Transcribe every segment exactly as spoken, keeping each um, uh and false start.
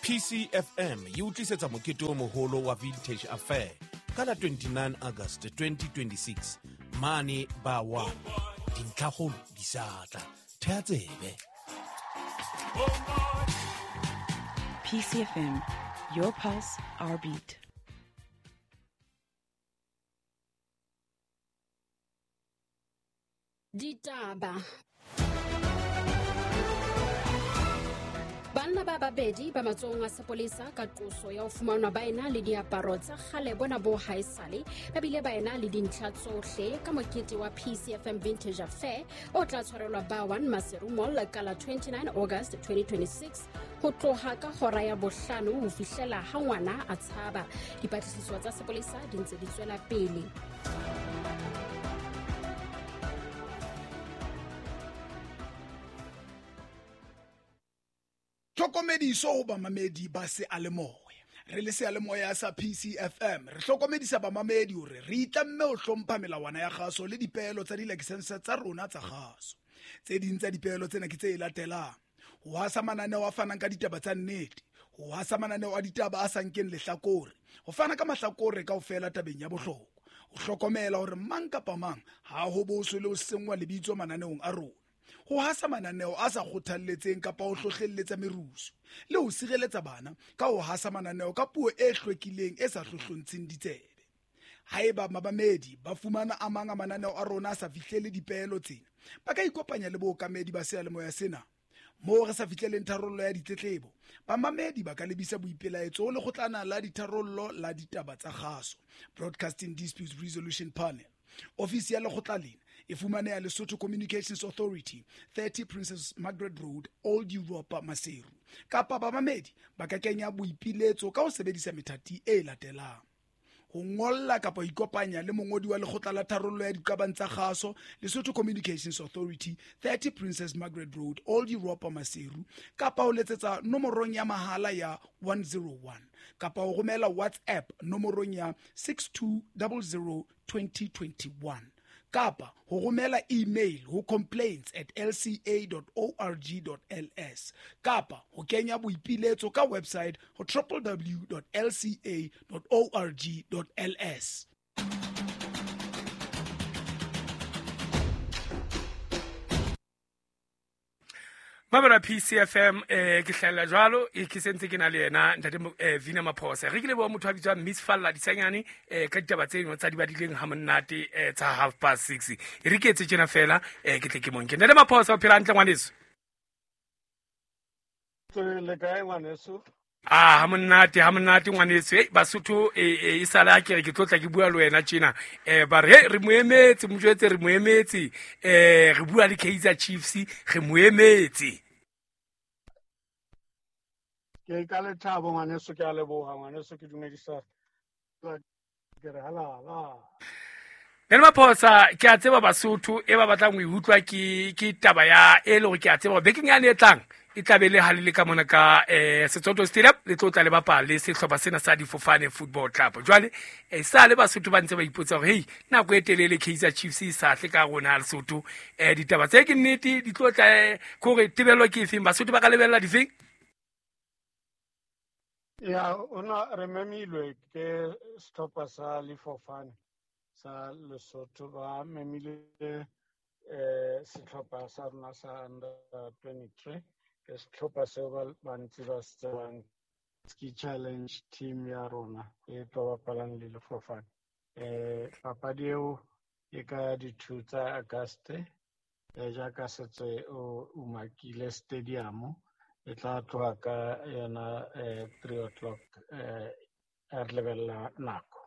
P C F M e o tlisetsa mokete o moholo wa Vintage Affair ka la twenty-nine August twenty twenty-six mane Bawa. Dintlhakgolo di sa tla, thea tsebe. P C F M, your pulse, our beat. Ditaba. Banna ba babedi ba matsohong a sepolesa ka qoso ya ho fumanwa ba ena le diaparo tsa kgale bona bo haesale, ba bile ba ena le dintlha tsohle ka mokete wa P C F M Vintage Affair o tla tshwarelwa Ba one Maseru Mall ka la twenty-nine August twenty twenty-six ho tloha ka hora ya bohlano ho fihlela ha ngwana a tshaba. Dipatlisiso tsa sepolesa di ntse di tswela pele. Tlhokomediso ho bamamedi ba seyalemoya. Re le seyalemoya sa P C F M, re hlokomedisa bamamedi hore re itlamme ho hlompha melawana ya kgaso le dipeelo tsa dilakesense tsa rona tsa kgaso. Tse ding tsa dipeelo tsena ke tse latelang: ho hasa mananeo a fanang ka ditaba tsa nnete, ho hasa mananeo a ditaba a sa nkeng lehlakore, ho fana ka mahlakore kaofela tabeng ya bohlokwa, ho hlokomela hore mang kapa mang ha ho boswe le ho senngwa lebitso mananeong a rona, ho hasa mananeo a sa kgothalletseng kapa ho hlohlelletsa merusu, le ho sireletsa bana ka ho hasa mananeo ka puo e hlwekileng e sa hlohlontsheng ditsebe. Haeba mamamedi ba fumana a mang a mananeo a rona a sa fihlele dipeelo tsena, ba ka ikopanya le bookamedi ba seyalemoya sena. Moo re sa fihleleng tharollo ya ditletlebo, bamamedi ba ka lebisa boipelaetso ho Lekgotlana la Ditharollo la Ditaba tsa Kgaso, Broadcasting Disputes Resolution Panel. Ofisi ya lekgotla lena e fumaneha Lesotho Communications Authority, thirty Princess Margaret Road, Old Europa, Maseru. Kapa bamamedi ba ka kenya boipiletso ka ho sebedisa methati e latelang: ho ngolla kapa ho ikopanya le mongodi wa Lekgotla la Tharollo ya Diqabang tsa Kgaso, Lesotho Communications Authority, thirty Princess Margaret Road, Old Europa, Maseru, kapa ho letsetsa nomorong ya mahala ya one zero one, kapa ho romela WhatsApp nomorong ya six two zero zero twenty twenty-one, kapa ho romela email ho complaints at l c a dot org dot l s, kapa ho kenya boipiletso ka website ho w w w dot l c a dot org dot l s. Mabela P C F M, eh ke hlahella jwalo e ke sentse ke na le yena ntate eh, Vina Maphosa. Re ke leboha motho a bitswang Miss Falla Disanyane eh ka ditaba tse dingwe tsa di badileng ha monate eh, tsa half past six. E re ke etse tjena fela eh ke tle ke monke. Ntate Maphosa, o phela hantle, ngwaneso? Le kae, ngwaneso? Ah, ha monate, ha monate, ngwaneso. Ei, Basotho e e sala ke re ke tlotla ke bua le wena tjena. Eh ba re re mo emetse, mo jwetse re mo emetse. Eh re bua le Kaizer Chiefs, re mo emetse. Ke ka lethabo, ngwaneso, ke a leboha, ngwaneso, ke dumedisa ke re halala. Nene Maphosa, ke a tseba Basotho e ba batlang ho e utlwa ke ke taba ya e le hore ke a tseba bekeng yane e tlang e tla be le ha le le ka mona ka eh Setsoto Stadium, le tlo tla le bapala le sehlopha sena sa Difofane Football Club. Jwale eh sa le Basotho ba ntse ba ipotsa hore hey, nako e telele Kaizer Chiefs e sa tle ka rona Lesotho. eh ditaba tse ke nnete di tlo tla kore tebello ke efeng, Basotho ba ka lebella difeng? Ya ona re memilwe ke sehlopha sa Lifofane sa Lesotho, ba memile eh sehlopha sa rona sa under twenty-three, ke sehlopha seo ba bantsi ba se tsebang, Ski Challenge team ya rona e tlo bapalang le Lefofane. eh papadi eo e ka di-two tsa August, eh jaaka setse o umakile, stadium e tla tloha ka yona eh three o'clock, eh re lebella nako.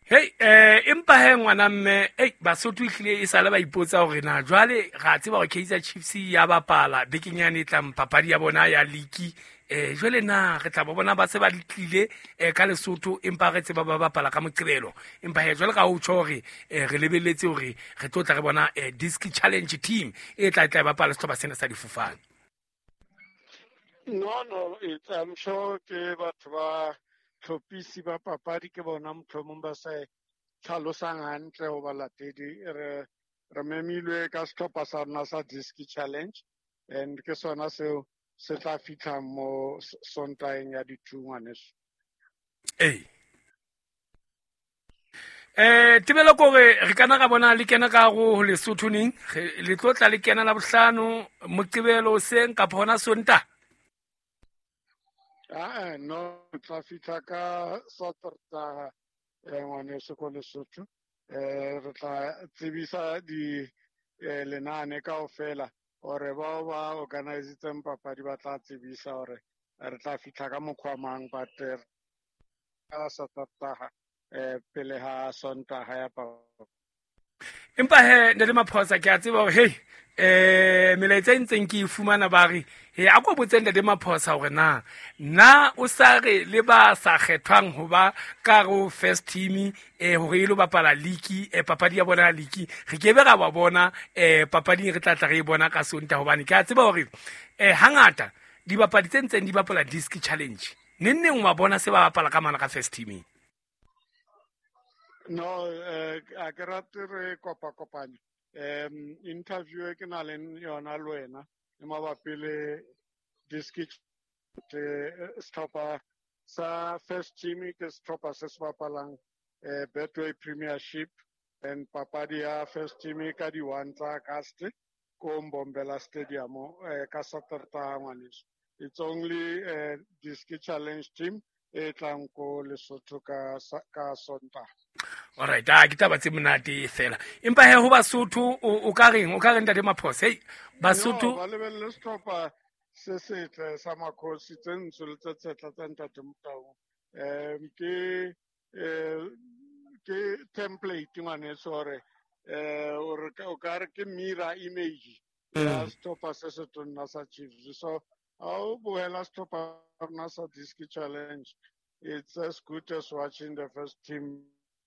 Hey, eh empa he ngwana mme, ei, Basotho ehlile e sale ba ipotsa hore na jwale ra tseba hore Kaizer Chiefs ya bapala bekeng yane e tlang papadi ya bona ya league, eh jwale na re tla ba bona ba se ba tlile eh ka Lesotho, empa re tseba ba bapala ka Moqebelo? Empa he jwale ka ho tjho hore eh re lebelletse hore re tlo tla re bona eh Disc Challenge team e tla tla bapala sehlopha sena sa Difofane. No, no, it's, I'm sure ke batho ba tlhophisi ba papadi ke bona mohlomong ba sa tlhalosang hantle ho balatedi. Re re memilwe ka sehlopha sa rona sa Disc Challenge, and ke sona seo se tla fitlha mo Sontaeng ya di-two ngwaneso. Ee. Eh tebelo kore re kana ra bona le kena ka go Lesotho neng le tlo tla le kena la bohlano Moqebelo seng kapa hona Sonta? Ah no, tla fitlha ka Saterdag ngwaneso ko Lesotho. Eh re tla tsebisa di lenane kaofela ore bao ba organizitseng papadi ba tla tsebisa hore re tla fitlha ka mokgwa mang, but ka Saterdag eh pele ha Sontaga ya papadi. Empa he ntate Maphosa ke a tseba hore hey eh melaetsa e ntseng ke e fumana ba re he a ko botse ntate Maphosa hore na na o sa re le ba sa kgethwang ho ba ka go first team eh hore e lo bapala league eh papadi ya bona ya league re ke be ra ba bona eh papading re tla tla re e bona ka Sonta, hobane ke a tseba hore eh hangata dibapadi tse ntseng di bapala disc challenge neng neng wa bona se ba bapala ka mana ka first team. No, eh a ke rate re kopa kopanya. Um interview e ke na le yona le wena e mabapi le disc setlhopha sa first team ke setlhopha se se bapalang eh Betway Premiership, and papadi ya first team ka di one tsa August ko Mbombela Stadium eh ka Saterdag ngwaneso. It's only uh, disc challenge team e tlang ko Lesotho ka ka Sontaga. All right, ah ke taba tse monate fela. Empa he ho Basotho o ka reng o ka reng ntate Maphosa? Hey Basotho ba lebelle setlhopha se setle sa Makhosi tse ntsho le tse tshetla tsa ntate Motau. Um ke eh ke template ngwaneso hore eh o ka re ke mirror image ya setlhopha se se tonna sa Chiefs. So ha o bohela setlhopha rona sa disc challenge, it's as good as watching the first team,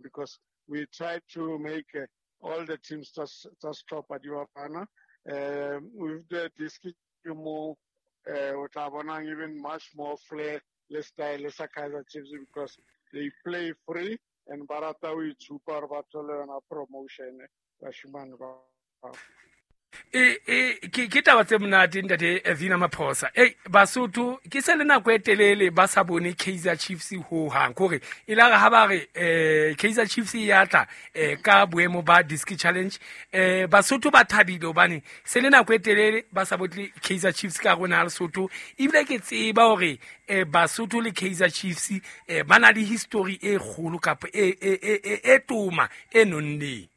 because we try to make uh, all the teams tsa setlhopha di bapana. Um with the disc mo eh o tla bonang even much more flair le style sa Kaizer Chiefs, because they play free and ba rata ho itshupa hore ba thole yona promotion bashimane ba. E e ke ke taba tse monate ntate Vina Maphosa. Ei Basotho ke se le nako e telele ba sa bone Kaizer Chiefs ho hang, kore e la re ha ba re eh Kaizer Chiefs ya tla eh ka boemo ba disc challenge eh Basotho ba thabile hobane se le nako e telele ba sa botle Kaizer Chiefs ka rona Lesotho. Ebile ke tseba hore eh Basotho le Kaizer Chiefs eh ba na le history e kgolo kapa e e e e toma e nonneng.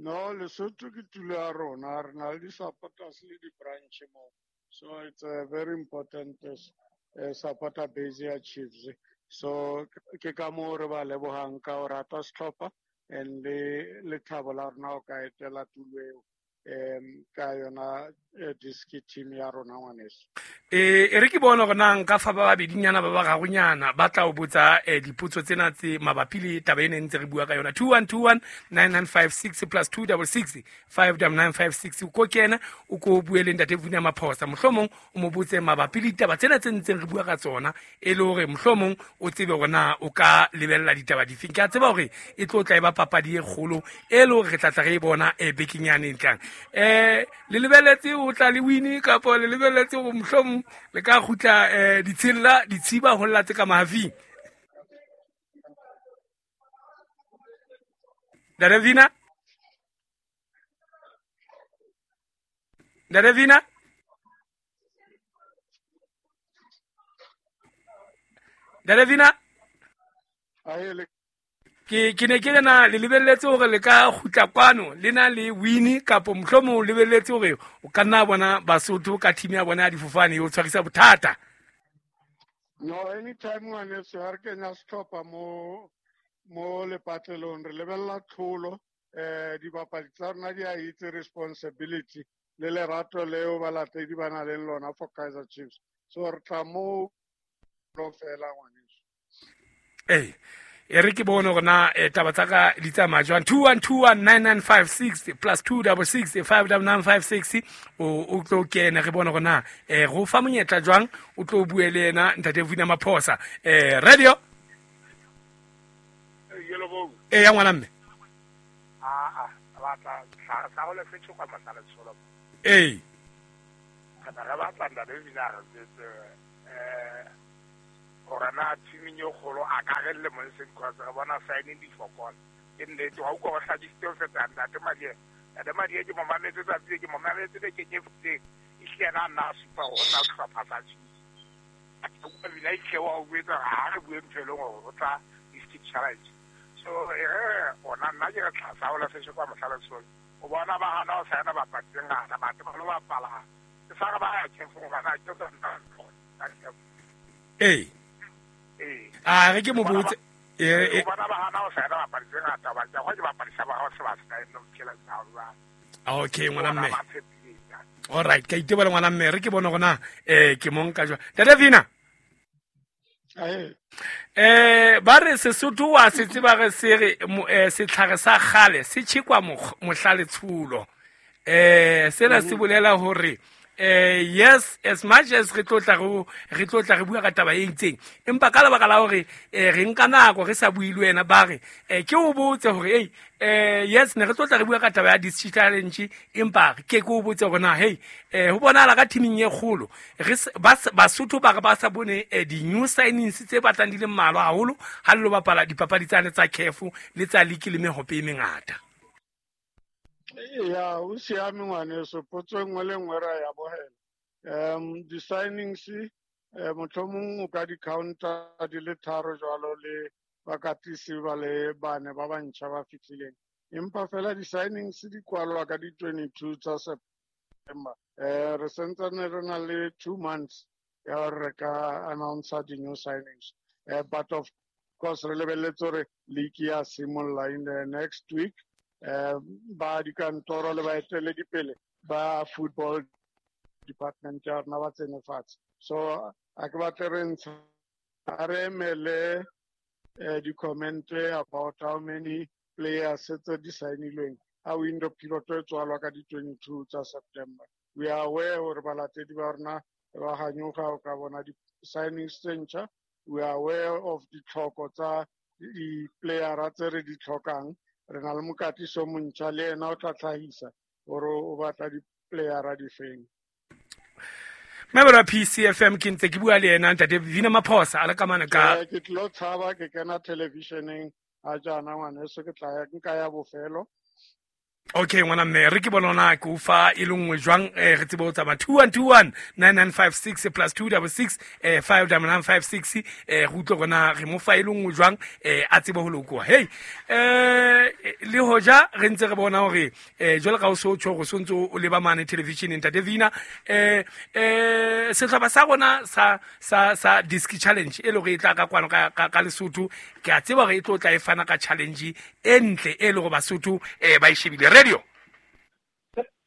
No, Lesotho ke tulo ya rona, re na le di-supporters le di-branch mo. So it's a very important uh, supporter base ya Chiefs. So ke ka moo re ba lebohang ka ho rata setlhopha and le lethabo la rona ho ka etela tulo eo um ka yona disc team ya rona ngwaneso. Eh e re ke bona hore na nka fa ba babedinyana ba bararonyana ba tla o botsa eh dipotso tsena tse mabapi le taba ena ntse re bua ka yona. Two one two one nine nine five six plus two double six five double nine five six. O ko kena o ko bue le ntate Vina Maphosa, mohlomong o mo botse mabapi le ditaba tsena tse ntseng re bua ka tsona, e le hore mohlomong o tsebe hore na o ka lebella ditaba difeng. Ke a tseba hore e tlo tla e ba papadi e kgolo e le hore re tla tla re e bona e bekeng yane e tlang. Eh le lebelletse o tla le win kapa le lebelletse hore mohlomong le ka kgutla eh ditshella ditshiba ho lla tse ka mahafing? Ntate Vina? Ntate Vina? Ntate Vina? Ke ke ne ke lena le lebelletse hore le ka kgutla kwano le na le win kapa mohlomong o lebelletse hore o ka nna bona Basotho ka team ya bona ya difofane e o tshwarisa bothata. No, anytime ngwaneso ha re kenya setlhopha mo mo lepatlelong re lebella tlholo. Eh dibapadi tsa rona di a itse responsibility le lerato leo balatedi ba nang le lona for Kaizer Chiefs. So re tla mo lo fela ngwaneso. Eh e re ke bone hore na taba tsa ka di tsamaya jwang. Two one two one nine nine five six plus two double six five double nine five six. O o tlo kena re bone hore na eh go fa monyetla jwang o tlo bue le yena ntate Vina Maphosa. Eh radio eh ya ngwana mme a a batla sa go le fetso kwa matla tsholo eh Re batla ntate Vina re jwetse eh hore na teaming e kgolo a ka re lemong se because re bona signing di fokola. Ke nnete wa utlwa go hlakisitse ho feta ntate Madie. Ntate Madie ke mo mametse tsatsi ke mo mametse bekeng e fetileng. Ehlile yena a nna a supa hore o tla sehlopha sa Chiefs. Vina ehlile wa o jwetsa hore ha re bue ntho e leng hore o tla district challenge. So e re ona nna ke re tlasa ho lefeshe kwa Mohlalesole. O bona ba hana ho saena bapadi tse ngata, batho ba lo bapala. Ke sa re ba ya K F hobane ha ke tsona. Ee. Ee. A re ke mo botse eh o bona ba hana ho saena bapadi tse ngata, ba ja ke bapadi sa ba ha se ba saena no phela tsa jwang. Okay, ngwana mme. Ba tshepile. All right, ka itebela ngwana mme, re ke bone gona eh ke mo nka jwang. Ntate Vina. Ae. Eh ba re Sesotho wa se tseba re se re eh, setlhare sa kgale se tjhekwa mohla letshulo. Eh sena se bolela hore eh yes, as much as re tlo tla re re tlo tla re bua ka taba e itseng, empa ka lebaka la hore eh, re nka nako re sa bue le wena, ba re eh, ke o botse hore ei eh yes, ne re tlo tla re bua ka taba ya district challenge, empa ke ke o botse hore na hey eh ho bonahala ka teaming e kgolo re s- ba s- Basotho ba re ba sa bone eh, di-new signings tse batlang di le mmalwa haholo ha le lo bapala dipapadi tsane tsa C A F le tsa league le mehope e mengata. Ya, o siame ngwaneso, potso e nngwe le nngwe ra ya bogela. Um di-signings eh, mohlomong o ka di-counta di le tharo jwalo le bakatisi ba le bane ba bantšha ba fitlhileng, empa fela di-signings di kwalwa ka di-twenty-two tsa September. Eh re santsane re na le two months ya hore re ka announcer di-new signings, eh, but of course re lebeletse hore league ya simolla in the next week. eh ba dikantoro le baeteledipele ba football department ya rona ba tsene fatshe, so a ke batle re ntsha, a re emele eh, di-comment about how many players tse di signilweng a window period e tswalwa ka di-twenty-two tsa September. We are aware hore balatedi ba rona ba ganyoga o ka bona di-signings tse ntšha. We are aware of ditlhoko tsa di-playera tse re di tlhokang. Re na le mokatiso montšha, le ena o tla tlhahisa gore o batla di-playera di feng. Member wa P C F M, ke ntse ke bua le ena ntate Vina Maphosa a le ka mane ka Eh, ke tlilo tshaba ke kena televisioneng a jaana ngwaneso, ke tla ya nka ya bofelo. Okay ngwana mme, re ke bona na ke o fa e le nngwe jwang, eh, re tsebe ho tsamaya. Two one two one nine nine five six plus two double six eh five double nine five six, eh re utlwe gona re mo fa e le nngwe jwang, eh a tsebe ho lokoha. Hey, eh le hoja re ntse re bona hore eh jwale ka o so tjho go sontso o leba mane television, ntate Vina, eh eh sehlopha sa rona sa sa sa Diski Challenge e le hore e tla ka kwano ka ka, ka Lesotho, ke a tseba hore e tlo tla e fana ka challenge e ntle e le hore Basotho eh ba e shebile radio.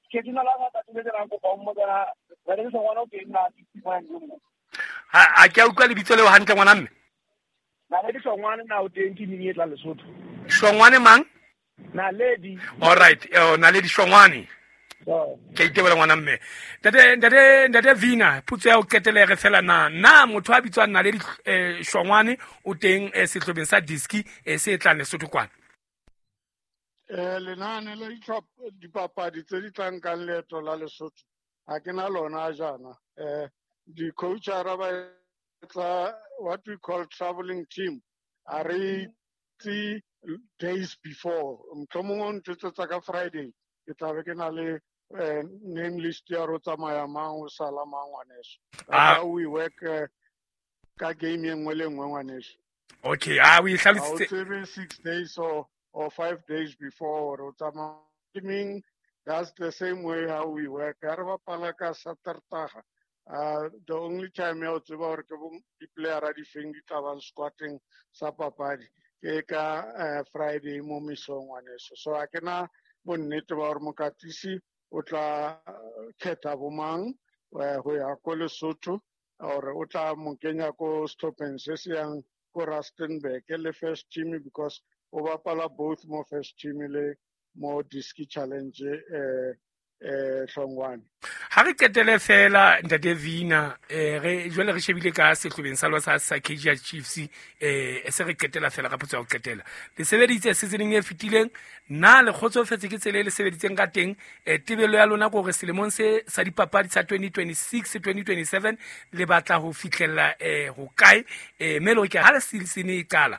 Ke dumela ngata tse ke kopa o mmotsa re le ngwana o teng na ke Ha a ke a utlwa lebitso leo hantle, ngwana mme. Na le Hlongwane na o teng teaming e tla Lesotho? Hlongwane mang? Naledi. All right, eh Naledi Hlongwane. Ke itebela ngwana mme. Ntate ntate ntate Vina, potso ya ho qetela re fela, na na motho a bitswang Naledi eh Hlongwane o teng eh, sehlopheng sa Diski eh, se tlang Lesotho kwana? Eh lenane la ditlhopha dipapadi tse di tlang kang leeto la Lesotho ha ke na lona jaana. Eh di-coachara ba etsa what we call traveling team, a re itse days before. Mohlomong o ntjwetsetsa ka Friday, ke tla be ke na le eh, name list ya ro tsamaya mang, o sala mang, ngwaneso. Ah. That's how we work, eh, ka game e nngwe le nngwe, ngwaneso. Okay, ah o e Ha o hlalositse. Tsebe six days or, or five days before o tsamaya. Meaning that's the same way how we work. Ha re bapala ka Satertaga, uh, the only time ya o tseba hore ke bo di-playera di feng di tla bang squatting sa papadi ke ka uh, Friday mo mesong, ngwaneso. So ha ke na bonnete ba hore mokatisi o tla eh, kgetha bomang eh, ho ya ko Lesotho or o tla mo kenya ko sehlopheng se se yang ko Rustenburg le first team, because o bapala both mo first team le mo Diski Challenge eh eh Hlongwane. Ha re qetele fela, ntate Vina, eh re jwale re shebile ka sehlobeng sa lona sa sa Kaizer Chiefs, eh se re qetela fela ka potso ya ho qetela. Le sebeditse seasoneng e fetileng, na le kgotsofetse ke tsela e le sebeditseng ka teng? eh Tebello ya lona ke hore selemong se sa dipapadi sa twenty twenty-six twenty twenty-seven le batla ho fihlella eh ho kae, eh mme le hore ke ha le season e qala?